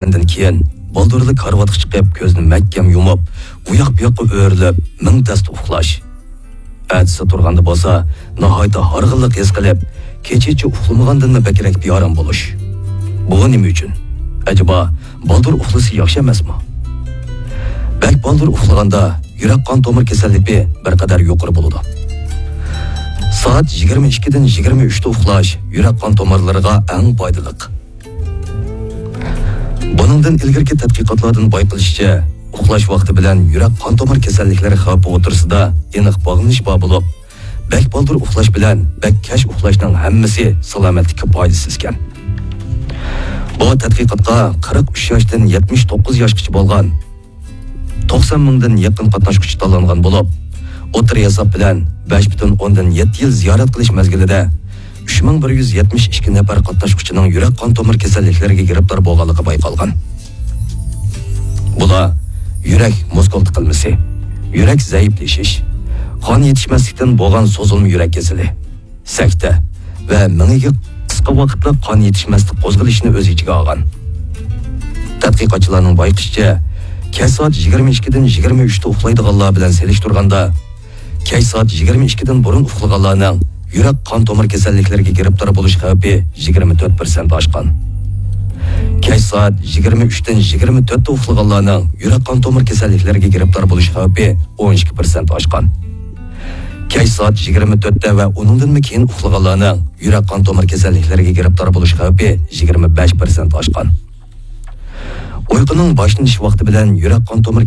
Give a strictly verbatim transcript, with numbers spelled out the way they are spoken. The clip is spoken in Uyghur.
ئۇخلىغاندىن كېيىن، بالدۇرلا كارىۋاتقا چىقىپ، كۆزنى مەھكەم يۇمۇپ، ئۇياق-بۇياققا ئۆرۈلۈپ، مىڭ تەستە ئۇخلاش. ئەتىسى تۇرغاندا بولسا، ناھايىتى ھارغىنلىق ھېس قىلىپ، كېچىچە ئۇخلىمىغاندىنمۇ بەكرەك بىئارام بولۇش. بۇ نېمە ئۈچۈن؟ ئەجەبا، بالدۇر ئۇخلىسا ياخشى ئەمەسمۇ؟ بەك بالدۇر ئۇخلىغاندا، يۈرەك قان تومۇر كېسەللىكى بىر قەدەر يۇقىرى بولىدۇ. سائەت يىگىرمە ئىككىدىن يىگىرمە ئۈچتە ئۇخلاش يۈرەك قان تومۇرلىرىغا ئەڭ پايدىلىق. بۇنىڭدىن ئىلگىرىكى تەتقىقاتلاردىن بايقىلىشىچە، ئۇخلاش ۋاقتى بىلەن يۈرەك قان تومۇر كېسەللىكلىرى خەۋپى ئوتتۇرىسىدا ئېنىق باغلىنىش بار بولۇپ، بەك بالدۇر ئۇخلاش بىلەن بەك كەچ ئۇخلاشنىڭ ھەممىسى سالامەتلىككە پايدىسىز ئىكەن. بۇ تەتقىقاتقا قىرىق ئۈچ ياشتىن يەتمىش توققۇز ياشقىچە بولغان توقسان مىڭدىن يېقىن قاتناشقۇچى تاللانغان بولۇپ، ئوتتۇرا ھېساب بىلەن بەش پۈتۈن ئوندىن يەتتە يىل زىيارەت قىلىش مەزگىلىدە ئۈچ مىڭ بىر يۈز يەتمىش ئىككى نەپەر قاتناشقۇچىنىڭ يۈرەك قان تومۇر كېسەللىكلىرىگە گىرىپتار بولغانلىقى بايقالغان. بۇلار يۈرەك مۇسكۇل تىقىلمىسى، يۈرەك زەئىپلىشىش، قان يېتىشمەسلىكتىن بولغان سوزۇلما يۈرەك كېسىلى، سەكتە ۋە مېڭىگە قىسقا ۋاقىتلىق قان يېتىشمەسلىك قوزغىلىشىنى ئۆز ئىچىگە ئالغان. تەتقىقاتچىلارنىڭ بايقىشىچە، كەچ سائەت يىگىرمە ئىككىدىن يىگىرمە ئۈچتە ئۇخلايدىغانلار بىلەن سېلىشتۇرغاندا، كەچ سائەت يىگىرمە ئىككىدىن بۇرۇن ئۇخلىغانلارنىڭ يۈرەك قان تومۇر كېسەللىكلىرىگە گىرىپتار بولۇش خەۋپى يىگىرمە تۆت پىرسەنت ئاشقان. كەچ سائەت يىگىرمە ئۈچتىن يىگىرمە تۆتتە ئۇخلىغانلارنىڭ يۈرەك قان تومۇر كېسەللىكلىرىگە گىرىپتار بولۇش خەۋپى ئون ئىككى پىرسەنت ئاشقان. كەچ سائەت يىگىرمە تۆتتە ۋە ئۇنىڭدىنمۇ كېيىن ئۇخلىغانلارنىڭ يۈرەك قان تومۇر كېسەللىكلىرىگە گىرىپتار بولۇش خەۋپى يىگىرمە بەش پىرسەنت ئاشقان. ئۇيقۇنىڭ باشلىنىش ۋاقتى بىلەن يۈرەك قان تومۇر